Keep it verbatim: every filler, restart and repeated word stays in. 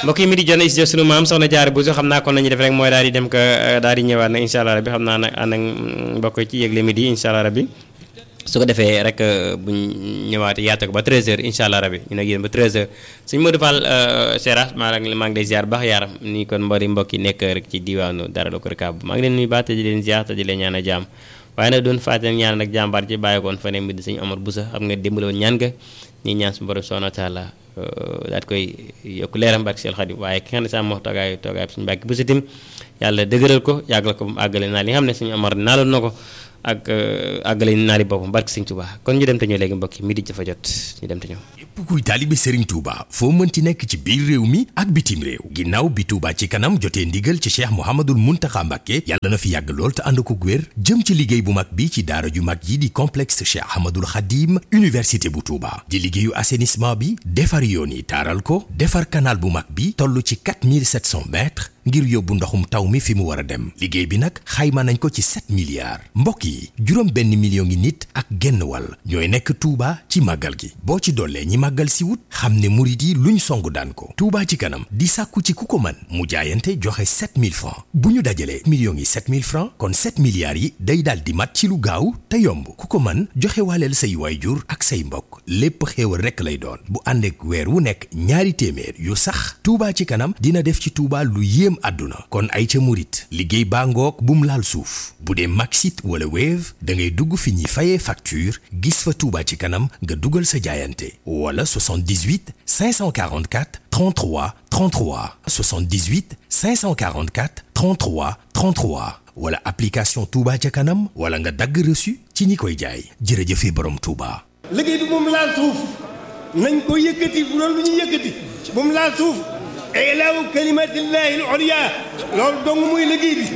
mbokk yi mi di jon studio sunu maam soxna Jaara Buso xam naa kon nañu def rek mooy daal di dem ko daal di ñëwaat nag incha allah rabbi xam naa nag ànd ak mbokk ci yëgle midi incha allah rabbi su ko defee rek buñ ñëwaatee yaata ko ba treize heures incha allah rabbi ñu nag yéen ba treize heures suñu Modou Fall Seras maa ngi maa ngi lay ziar baax yaaram ni kon mbari mbokk yi nekk rek ci diwaanu dara la ko rekaab maa ngi leen nuyu baax te di leen ziar te di leen ñaan a jaam waaye nag doon fàttali ñaan nag jàmbaar ci bàyyi koon fa ne mi di suñu Omar Boussa xam nga dimbale woon ñaan nga ñi ñaan suñu borom subhanahu wa taala daat koy yokk leeram barke Seex Xaadim waaye ki nga xam ne sax moo toogaay toogaay suñu Mbàkke Boussa tim yàlla dëgëral ko yàggal ko mu àggale naa li nga xam ne suñu Omar naaloon na ko ak àggale naali boppam barke Sëñ Tuubaa kon ñu dem te ñëw léegi mbokk yi midi dafa jot ñu dem te ñëw. képp kuy taalibe Serigne Touba foo mënti nekk ci biir réew mi ak bitim réew ginnaaw bi Touba ci kanam jotee ndigal ci Cheikh Mouhamadoul Mountakha Mbacké yàlla na fi yàgg lool te ànd ko wér jëm ci liggéey bu mag bi ci daara ju mag yi di complexe Cheikh Ahmadoul Khadim université bu Touba di liggéeyu assainissement bi defar yoon yi taaral ko defar canal bu mag bi toll ci quatre mille sept cents mètres ngir yóbbu ndoxum taw mi fi mu war a dem liggéey bi nag xayma nañ ko ci sept milliards mbokk yi juróom benn million ngi nit ak genn wàll ñooy nekk Touba ci màggal gi boo ci dollee ñi màggal si wut xam ne murit yi luñ song daan ko Touba ci kanam di sàkku ci ku ko mën mu jaayante joxe sept mille francs bu ñu dajalee millions yi sept mille francs kon sept milliards yi day daal di mat ci lu gaaw te yomb ku ko mën joxe waaleel say waayjur ak say mbokk lépp xéewal rekk lay doon bu ànd ak weer wu nekk ñaari téeméer yu sax Touba ci kanam dina def ci Touba lu yéem àdduna kon ay ca murit liggéey baa ngoog bum laal suuf bu dee Maxit wala Wave da ngay dugg fi ñuy fayee facture gis fa Touba ci kanam nga dugal sa jaayante wala soixante-dix-huit cinq cent quarante-quatre trente-trois trente-trois soixante-dix-huit cinq cent quarante-quatre trente-trois trente-trois wala application Touba ca kanam wala nga dagg reçu ci ñi koy jaay jërëjëfe borom Touba. liggéey bi moom laal suuf nañ ko yëkkati bu doon lu ñu yëkkati moom laal suuf ilaahu kalimatillahi al-ulya loolu dong muy liggéey bi